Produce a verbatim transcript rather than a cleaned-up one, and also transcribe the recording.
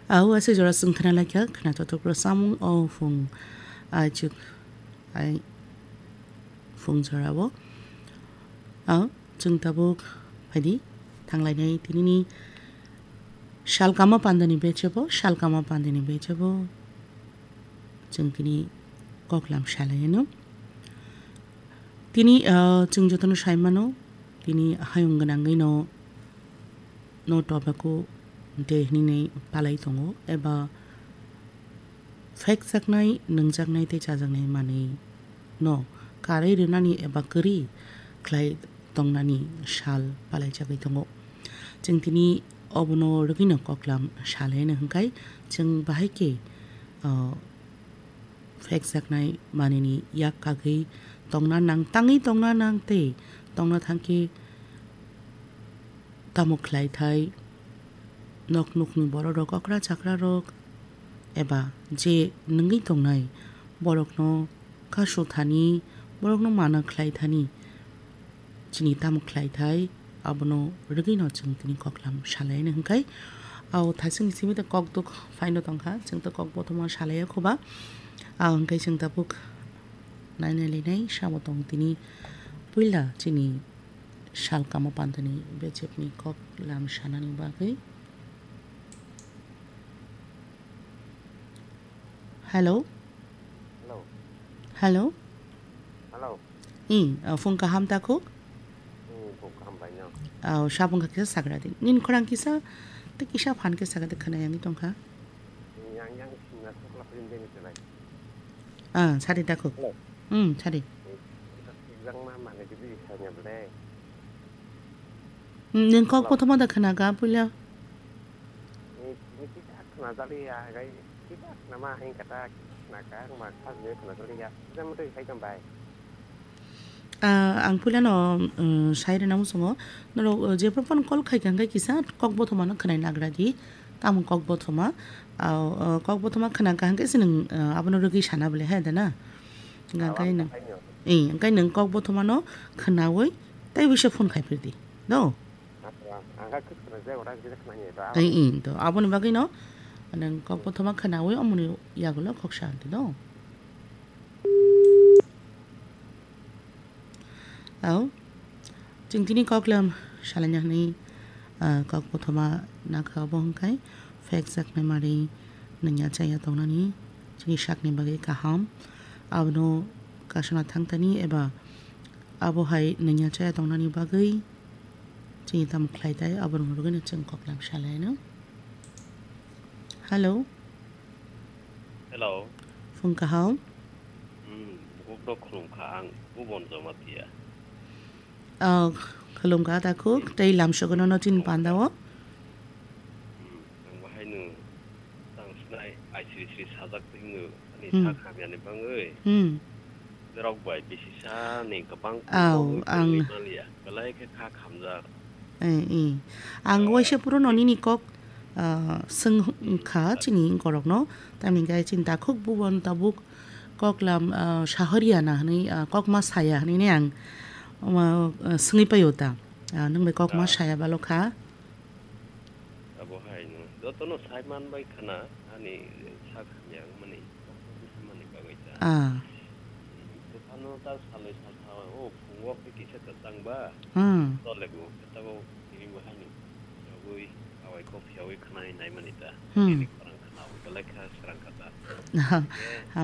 Au, ase jora chwng khna laikha, khna totok rw samung o phung, ai chuk, ai phung jora o. Au, chwng tabuk phaidi, thanglainai tinini sal kama pandani bechebo, sal kama pandani bechebo. Chwng tini koklam salaiano. Tini, ah, chwng jotono saimano, tini hayung gwnangwi no no tobacco de hinwi palai tongo, eba phekjaknai, nungjaknai tei chajaknai manwi no karwi rwnani eba kwrwi khlai tongnani sal palaijagwi tongo. Chwng tini obono rwgwino koklam salaino hwnkhe chwng bahai khe, ah, phekjaknai manwini yak kagwi tongna nang, tangwi tongna nang tei tongna thangkhe tamo khlai thai, nok nukni borok rok, okra chakra rok eba je nungwi tongnai borokno kasu thani, borokno mana khlai thani, chini tamo khlai thai, abono rwgwino chwng tini koklam salaino hwnkhe. Au thasingni simi ta kok duk phaino tongkha, chwng ta kok bothoma salaiya khoba. Au hwnkhe chwng tabuk nainai linai samo tong tini puila chini sal kamo pandani bechepni koklam sanani bagwi. Hello? Hello. Hello? Hello. I, uh, phung kaham takhuk? Hmm, phung kaham bai no. Oh, sabung kha kisa sagra di. Nin khorang kisa, te kisa phan kisa sagra di khana yang tongkha. Hmm, yang, yang singna sokla prin deni te bai. Ah, sari takhuk. Hello. Hmm, sari. Eh, yang ma mane di bi sanya ble. Hmm, nin kok Hello. Pothoma da khana ga puila. Ni, ni kisa khna jali ya, gai kisa khna ma hain kata, khna ka, ma khas je khna jali ya. Jam tu hai kam bai. Ah, ang puilano, um, sai rwna muchungo. Norok, uh, jephru phano call khai kha hwnkhe kisa kok bothomano khwnai nagra di. Tamo kok bothoma. Ah, uh, kok bothoma khna kha hwnkhe se nwng, uh, abono rwgwi sana bole, he da na? Hwnkhe Awan nwng, hai no. Eh, hwnkhe nwng kok bothomano khnaui tei bisa phone khai phir di. Do? Acha, ang kha kwthwkna je ora kisa khna ni to. Ai, aboni i, to, aboni bagwi no, nang kok bothoma khnaui omoni yagulo kok santi do. Au, chwng tini koklam salaina hwnwi, ah, kok bothoma nakha obo hwnkhai, phekjaknai mari nungya chaya tongnani chini sakni bagwi kaham. Abono kasana thangtani eba abo hai nungya chaya tongnani bagwi chini tamo khlai tai, aborokni bagwino chwng koklam salaino. Hello. Hello. Phung kaham. Hmm, bukrok khulum kha ang, Bubon Jamatia. Oh, khulum kha takhuk, tei lamsogono no chini pandao. Hmm, ang bahaino tang sinai, ai sri sri sajak twi hwno, ani Hmm. sak hamyani bangwi. Hmm. Norok bai bisi sa ni kwbang Au, kwbangwi ang tongwi manliya. Belai khe kha khamjak. Eh, eh. Ang Ah. waisa puro no nini kok, ah, swngkha chini borokno. Tamni khe chini takhuk bubon tabuk koklam, ah, sahoriya na hwnwi, ah, kokma saya hwnwi ne ang, ah, swngwi paio ta. Ah, nwng bai kokma Ah. saya balo kha. Abo hai no. Jotono sai man bai khana ani sak hamya wngmani. Kok kok bisa mani bagwi ta. Ah. Buphano ta salai salsa o phungo khe kisa kwchang ba. Hmm. Tole bo khe tabo tini bo haino. Yogwi awai kok phiyawi khwnai naimani ta. Hmm. Tini khorang khwna belai kha srang kha ta. Aha. Khe